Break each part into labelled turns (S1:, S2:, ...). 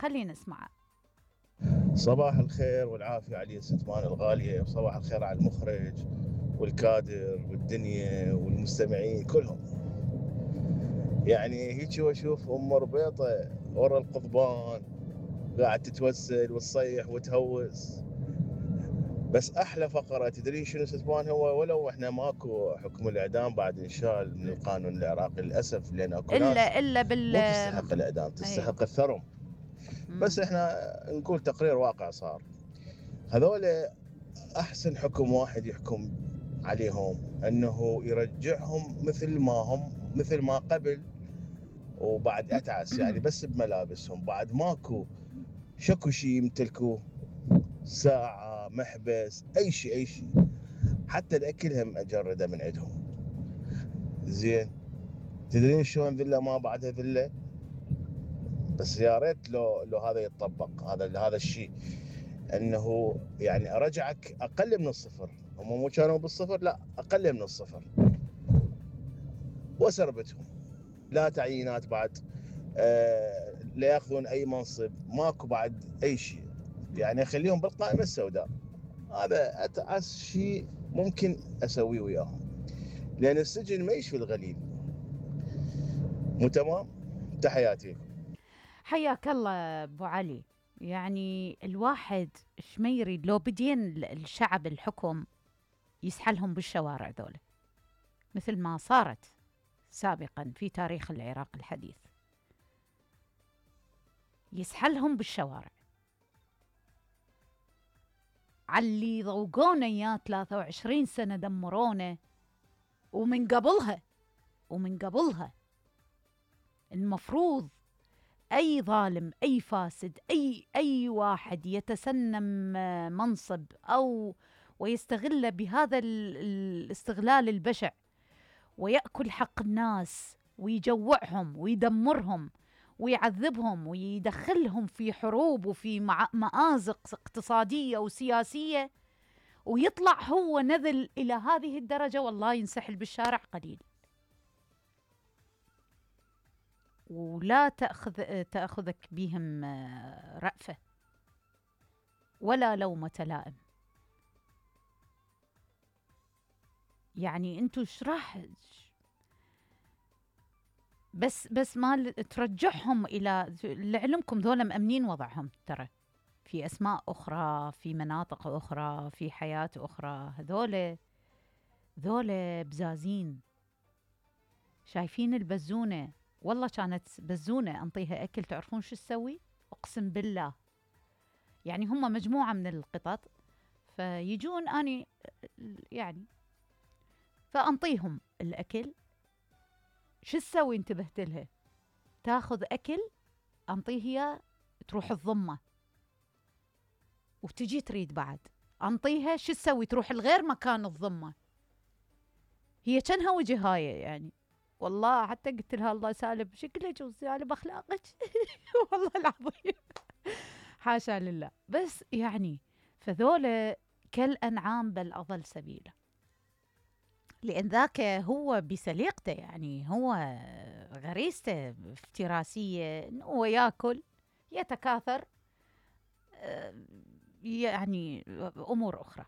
S1: خلينا نسمعه.
S2: صباح الخير والعافية علي ستمان الغالية، وصباح الخير على المخرج والكادر والدنيا والمستمعين كلهم. يعني هيك واشوف ام ربيطة ورا القضبان قاعد تتوسل وتصيح وتهوس. بس احلى فقرة تدرين شنو ستمان؟ هو ولو احنا ماكو حكم الاعدام بعد انشال من القانون العراقي للاسف، لان اكو ناس
S1: الا
S2: مو تستحق الاعدام، تستحق الثرم. بس احنا نقول تقرير واقع صار. هذول احسن حكم واحد يحكم عليهم انه يرجعهم مثل ما هم، مثل ما قبل وبعد اتعس، يعني بس بملابسهم، بعد ماكو شكو شيء يمتلكوه، ساعة، محبس، اي شيء اي شيء، حتى الاكل هم اجرده من عندهم. زين، تدرين شلون ذله ما بعدها ذله؟ بس يا ريت لو هذا يتطبق، هذا الشيء، انه يعني ارجعك اقل من الصفر. هم مو كانوا بالصفر، لا اقل من الصفر، وسربتهم لا تعيينات بعد، لا ياخذون اي منصب، ماكو بعد اي شيء، يعني خليهم بالقائمه السوداء. هذا اتعس شيء ممكن اسويه وياهم، لان السجن ما يشفي الغليل. مو تمام؟ تحياتي.
S1: حياك الله ابو علي. يعني الواحد ايش ما يريد لو بدين الشعب الحكم يسحلهم بالشوارع ذولا، مثل ما صارت سابقا في تاريخ العراق الحديث، يسحلهم بالشوارع. علي ضوقونا اياه 23 سنة دمرونا، ومن قبلها المفروض أي ظالم، أي فاسد، أي واحد يتسنم منصب أو ويستغل بهذا الاستغلال البشع ويأكل حق الناس ويجوعهم ويدمرهم ويعذبهم ويدخلهم في حروب وفي مآزق اقتصادية وسياسية، ويطلع هو نذل إلى هذه الدرجة، والله ينسحل بالشارع قليل. ولا تأخذك بهم رأفة ولا لومة لائم. يعني انتو ايش راح بس ما ترجعهم الى لعلمكم ذولا مأمنين وضعهم، ترى في اسماء اخرى، في مناطق اخرى، في حياة اخرى. ذولا بزازين. شايفين البزونة؟ والله كانت بزونة انطيها اكل، تعرفون شو تسوي؟ اقسم بالله، يعني هم مجموعة من القطط فيجون اني يعني فانطيهم الاكل، شو تسوي؟ انتبهت لها، تاخذ اكل انطيها تروح الضمة، وتجي تريد بعد انطيها، شو تسوي؟ تروح الغير مكان الضمة. هي كانها وجهاية يعني، والله حتى قلت لها الله سالب شكلك وسالب اخلاقك والله العظيم حاشا لله. بس يعني فذولا كالانعام بل اضل سبيلا، لان ذاك هو بسليقته، يعني هو غريزته افتراسيه، هو ياكل يتكاثر، يعني امور اخرى.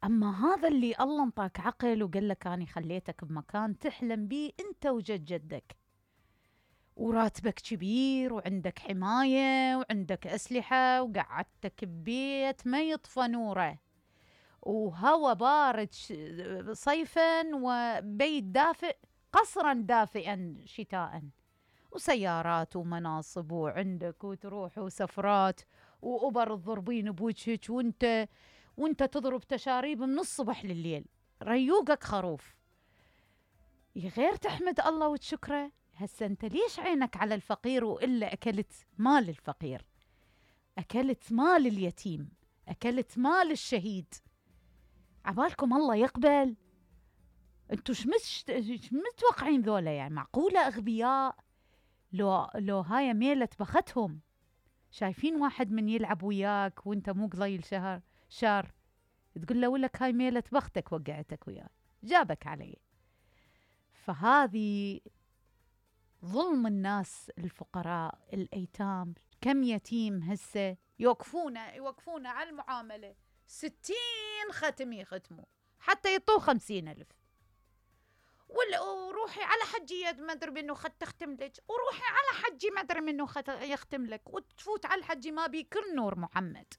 S1: اما هذا اللي الله انطاك عقل وقال لك اني خليتك بمكان تحلم بيه انت وجد جدك، وراتبك كبير وعندك حمايه وعندك اسلحه وقعدتك ببيت ما يطفى نوره، وهوى بارد صيفا وبيت دافئ، قصرا دافئا شتاء، وسيارات ومناصب وعندك وتروح وسفرات وأوبر الضربين بوجهك، وانت تضرب تشاريب من الصبح لليل، ريوقك خروف. غير تحمد الله وتشكره. هسه انت ليش عينك على الفقير وإلا أكلت مال الفقير، أكلت مال اليتيم، أكلت مال الشهيد؟ عبالكم الله يقبل؟ انتوا مش متوقعين ذولا يعني معقولة أغبياء؟ لو هاي ميلة بختهم. شايفين واحد من يلعب وياك وانت مو قليل شار تقول له ولك هاي ميلة بختك وقعتك وياي، جابك علي. فهذه ظلم الناس، الفقراء، الأيتام، كم يتيم هسه يوقفونه على المعاملة 60 ختم يختموا حتى يطوه 50,000. وروحي على حجية ما ادري منو تختم لك، وروحي على حجي ما ادري منو يختم لك، وتفوت على الحجي ما بي كل نور محمد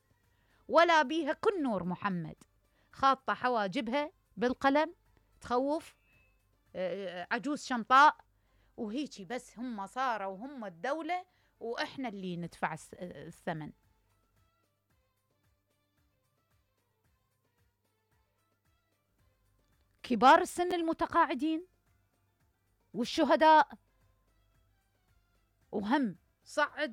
S1: ولا بيها كل نور محمد، خاطة حواجبها بالقلم تخوف، عجوز شمطاء وهيجي، بس هم صاروا وهم الدولة وإحنا اللي ندفع الثمن. كبار السن المتقاعدين والشهداء، وهم صعد